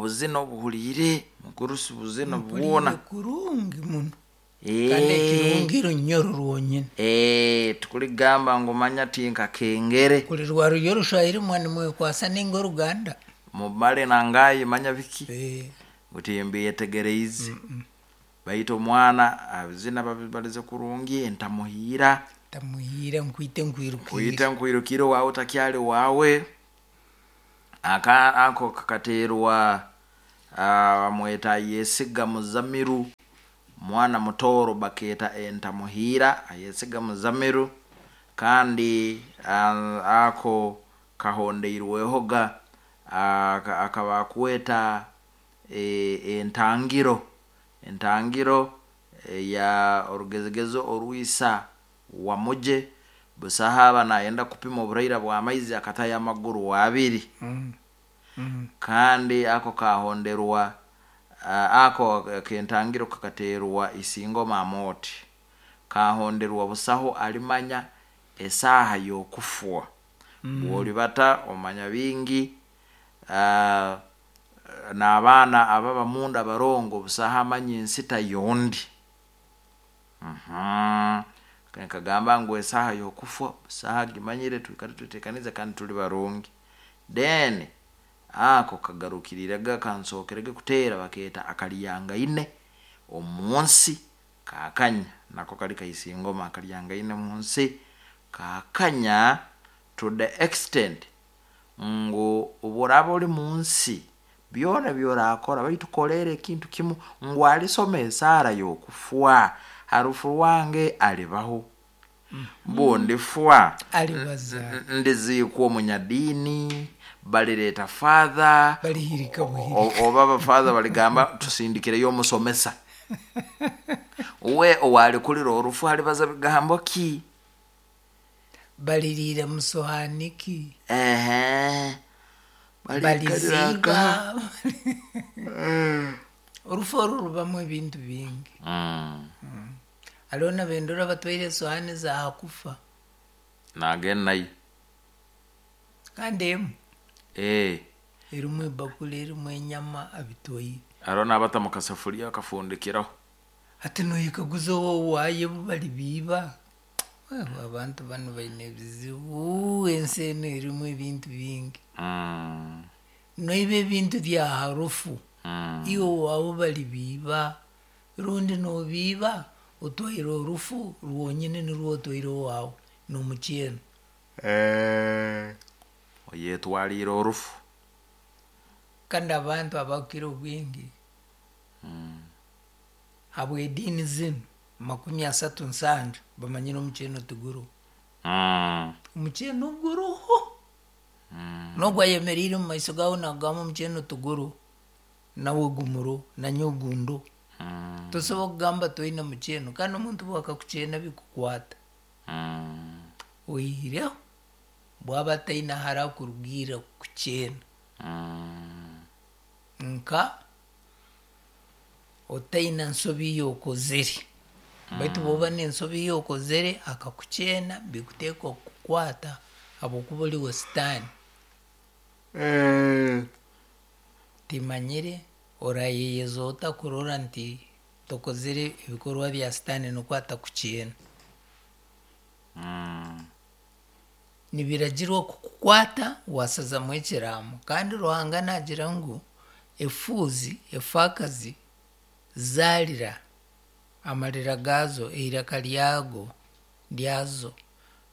Obuzina obuhuriire mugurusi buzina Mpuriire bwona. kurungi muno. Kandi ekirungi runyoro rwonyine. Tikurigamba ngu manya tinkakengere. Kuri rwarurya orushwahiri muba nimwekwasa ninga oruganda. Mumare nangayi manya biki ngu timbyetegereize. Baitu omwana abizina babibarize kurungi entamuhiira. Ntamuhiira nkwite nkwirukiire. Nkwite nkwirukiire owaawe takyari waawe. Aka ako kakateerwa bamweta Ayesiga Muzamiru, mwana mutooro bakeeta Entamuhiira Ayesiga Muzamiru kandi ako kahondeirwehoga aka bakweta Entangiro, Entangiro eya orugezigezi orwisa Wamugye, busaho aba nayenda kupima oburaira bw'amaizi akatayo amaguru abiri. Kandi ako kahonderwa ako ak'entangiro kakateerwa Isingoma Amooti. Kahonderwa busaho arimanya esaaha y'okufwa. Bw'oribata omanya bingi n'abaana ababa munda abarongo busaho amanya ensita y'ondi. Nkagamba ngu esaaha y'okufwa busaho agimanyire twikare tweteekanize kandi turi barungi. Then ako kagarukiriirege kansookerege kuteera bakeeta akaryangaine omu nsi kaakanya nako kari ka Isingoma akaryangaine omu nsi kaakanya to the extent ngu obu oraaba ori mu nsi byona ebi oraakora baitu koreera ekintu kimu ngu arisoma esaara y'okufwa ha rufu rwange aribaho. Bundifwa Aribaza. ndiziikwa omunyadiini, barireeta father, Barihirika buhirika. oba abafather barigamba tusindikireyo omusomesa. We owaarikurira orufu aribaza bigambo ki? Baririira mu sohaani ki? Ehe. Bariikarira Bariziiga. Orufu oru rubamu ebintu bingi. Hariho nabendora batwaire esohaani za ha kufa. Naagenda nayo. Kandi emwe. Erimu ebakuri erimu enyama abitwaire. Hariho n'abata mu kasafuriya bakafundikiraho. Hati noyekaguza owaayo obu baribiiba? Wewe abantu banu baine ebizibu, ensi enu erimu ebintu bingi. Noiba ebintu bya harufu, iwe owaawe baribiiba, rundi nobiiba otwaire orufu rwonyine nirwo otwaire owaawe nomukyeno. Oyetwariire orufu. Kandi abantu abakukira obwingi habw'ediini zinu 37 bamanyire omukyeno tiguruho. Omukyeno guruho. N'ogu ayemereire omu maiso gaawe naakugamba omukyeno tiguruho, nawe gumuruho, nanyowe gunduho. Tosobola kugamba toine mukyeno kandi omuntu obu akakukyena bikukwata. Oihireho bwaba ataine ahu arakurugiirira kukukyena. Nka otaine nsobi ei okozire. Baitu bw'oba n'ensobi ei okozire akakukyena bikuteekwa kukukwata habw'okuba ori wa sitaani. Timanyire orayeyeza ota kurora nti tokozire ebikorwa bya sitaani nikwo atakukyena. Nibiragirwa kukukwata waasazamu ekiraamo. Kandi Ruhanga naagira ngu efuuzi, efaakazi zaarira amarira gaazo, eiraka ryago, ryazo,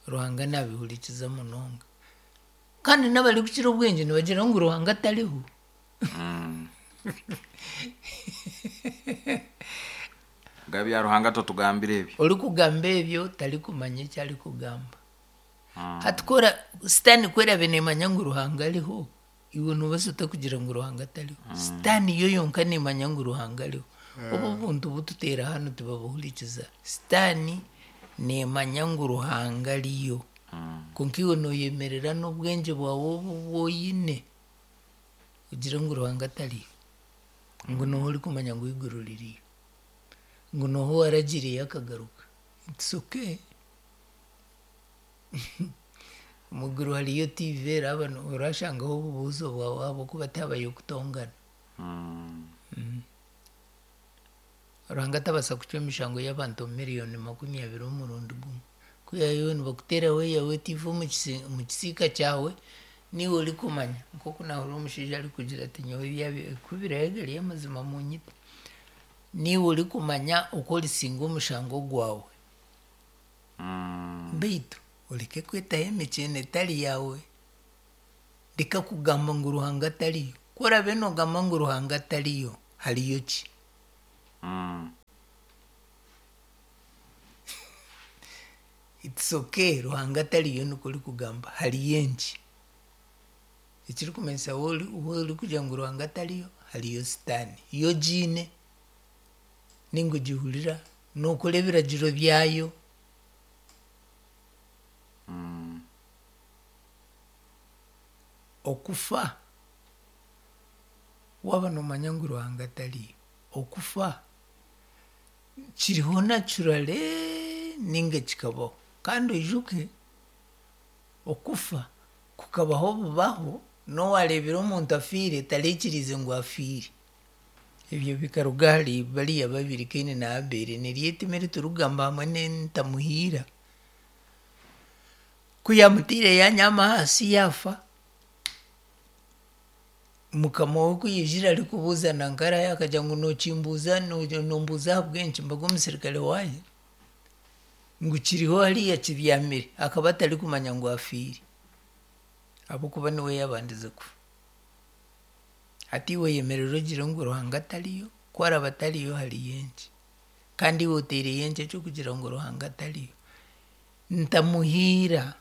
Ruhanga naabihurikiza munonga. Kandi n'abarikukira obwingi nibagira ngu Ruhanga tariho. Gabya Ruhanga totugambira ebyo. Orikugamba ebyo tarikumanya eki arikugamba. Hati ku ora sitaani ku eraabe neemanya ngu Ruhanga ariho, iwe noobaasa ota kugira ngu Ruhanga tariho? Sitaani yo yonka neemanya ngu Ruhanga ariho. Obu obuntu bututeera hanu tibabuhurikiza. Sitaani neemanya ngu Ruhanga ariyo. Kwonka iwe nooyemerera n'obwengye bwawe obu obu oine, ogire ngu Ruhanga tariyo. Ngu nooha orikumanya ngu eiguru ririyo? Ngu nooha owaragiireyo akagaruka? It's okay. Omu iguru hariyo TV eraba orashangaho obubuuzo bwawe ahabw'okuba tihabayo kutongana. Ruhanga tabaasa kucwa emishango y'abantu 20,000,000 omurundi gumwe. Kwihayo iwe nibakuteeraho eyawe eti ife omu kisiika kyawe niiwe orikumanya. Nk'oku naahurira omushaija arikugira ati nyowe ku biraabe gari amazima munyite. Niiwe orikumanya oku orisinga omushango gwawe. Beitu oreke kwetaho emikyeno etari yaawe. Reka kugamba ngu Ruhanga tariyo. Ku oraabe noogamba ngu Ruhanga tariyo, hariyo ki? It's okay Ruhanga tariyo nikwo orikugamba, hariyo enki? Ekirikumanyisa waaba orikugira ngu Ruhanga tariyo, hariyo sitaane. Yo ogiine ninga ogihurira, nookora ebiragiro byayo. Okufa, waaba noomanya ngu Ruhanga tariyo, okufa kiriho naturally ninga kikabaho. Kandi oijuke okufa kukabaho bubaho, n'owareebire omuntu afiire taraikiriize ngu afiire. Ebyo bikaruga ahari bariya babiri Kaini na Abeeri, niryo eitima eri turikugamba hamwe n'entamuhiira. Ku yaamutaire yaanyaama ahansi yaafa, mukama we ku yaijire arikubuuza nanka arahe akagira ngu nookimbuuza nombuuza ahabw'enki mbaga omusirikare waaye ngu kiriho hariya kibyamire akaba atarikumanya ngu afiire ahabw'okuba niwe yaabandize kufa. Hati iwe oyemerere ogire ngu Ruhanga tariyo, ku araabe atariyo hariyo enki? Kandi iwe otaireyo enki eky'okugira ngu Ruhanga tariyo? Ntamuhiira,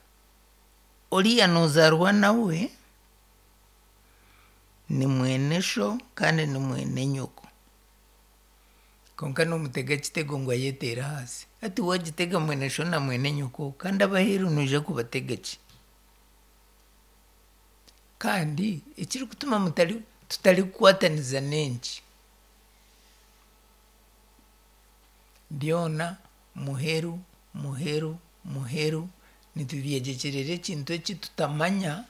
oriya noozaarwa nawe ni mwene sho kandi ni mwene nyoko. Kwonka noomutega ekitego ngu ayeteere ahansi. Hati waagitega mwene sho na mwene nyoko kandi ab'aheeru noija kubatega ki? Kandi ekirikutuma mutari tutarikukwataniza n'enki? Byona muheru, muheru, muheru nitubyegyekyerera ekintu eki tutamanya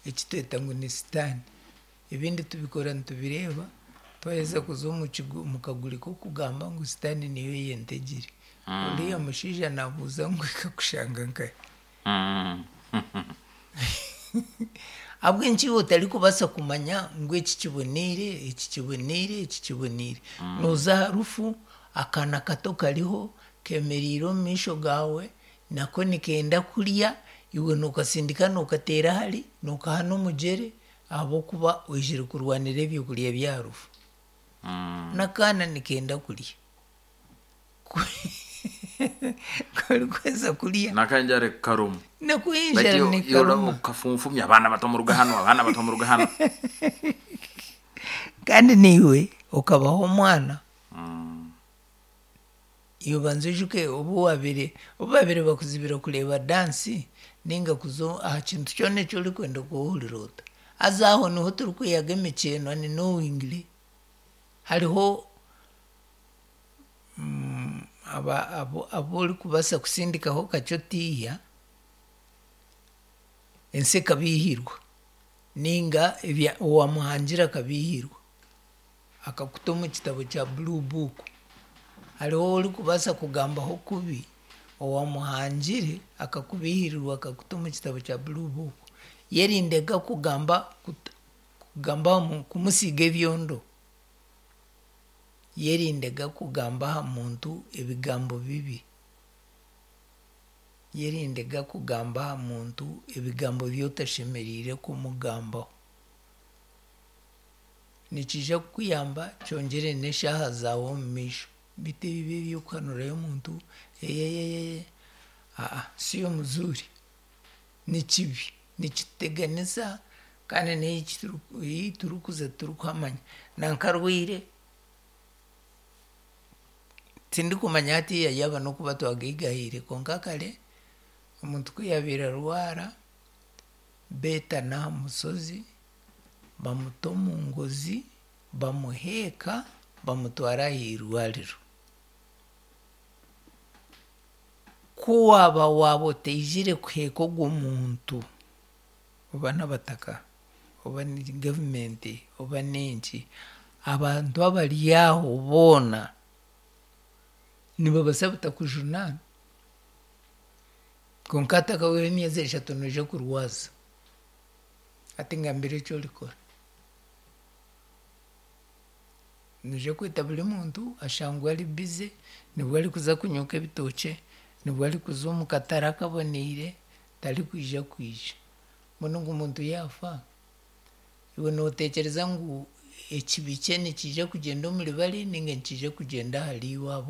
eki tweta ngu ni sitaane. Ebindi tubikora nitubireeba, twaheza kuza omu kaguri k'okugamba ngu sitaane niyo eyentegire. Oriya mushaija naabuuza ngu ekakushanga nkahi? Ahabw'enki iwe otarikubaasa kumanya ngu eki kiboneire, eki kiboneire, eki kiboneire? Nooza aha rufu, akaana kato kariho kemereire omu maisho gaawe, nako nikenda kurya, iwe nookasindika nookateera hare, nookaha n'omugyere ahabw'okuba oizire kurwanira ebyokurya by'aha rufu. N'akaana nikenda kurya. Karikuheza kurya. N'akanjara karuma. Nako enjara nekaruma. Okafunfumya abaana bato muruga hanu, abaana bato muruga hanu. Kandi naiwe okabaho omwana. Iwe banza oijuke obu wabaire obu babaire bakuzibira kureeba dansi ninga kuza aha kintu kyona eki orikwenda okahurira ota. Haza aho niho turikwihaga emikyeno knowingly. Hariho abu orikubaasa kusindikaho kakye otiiya, ensi ekabiihirwa ninga owaamuhangire akabiihirwa akakuta omu kitabo kya blue book. Hariho ou orikubaasa kugambaho kubi owaamuhangire akakubiihirirwa akakuta omu kitabo kya blue book. Yerindega kugamba kugamba kumusiiga ebyondo. Yerindega kugamba aha muntu ebigambo bibi. Yerindega kugamba aha muntu ebigambo bi otashemereire kumugambaho. Nikiija kukuyamba kyongyere n'eshaaha zaawe omu maisho. Beitu ebi eby'okuhanurayo omuntu aa siyo muzuri. Ni kibi, nikituteganisa kandi n'ei turikuza titurikuhamanya. Nanka arwaire, tindikumanya hatiiya yaaba n'okuba twagaigahaire kwonka kare omuntu ku yaabaire arwara, beetana aha mushozi, bamuta omu ngozi, bamuheeka, bamutwara aha irwariro. Ku waaba waaba otaizire kuheeka ogwo muntu, oba n'abataka, oba ni gavumenti, oba n'enki, Abantu abari aho boona nibabaasa butakujunaana. Kwonka hatakahweireho emyezi eshatu noija kurwaza. Hati ngambira eki orikora. Noija kweta buri muntu ashangwe ari bize, nibwo arikuza kunyuka ebitookye, nibwo arikuza omu katare akaboneire, tarikwija kwija. Mbwenu ogu muntu yaafa, iwe nootekyereza ngu ekibi kye nikiija kugyenda omuri bari ninga nikiija kugyenda ahariiwe ahabw'okuba.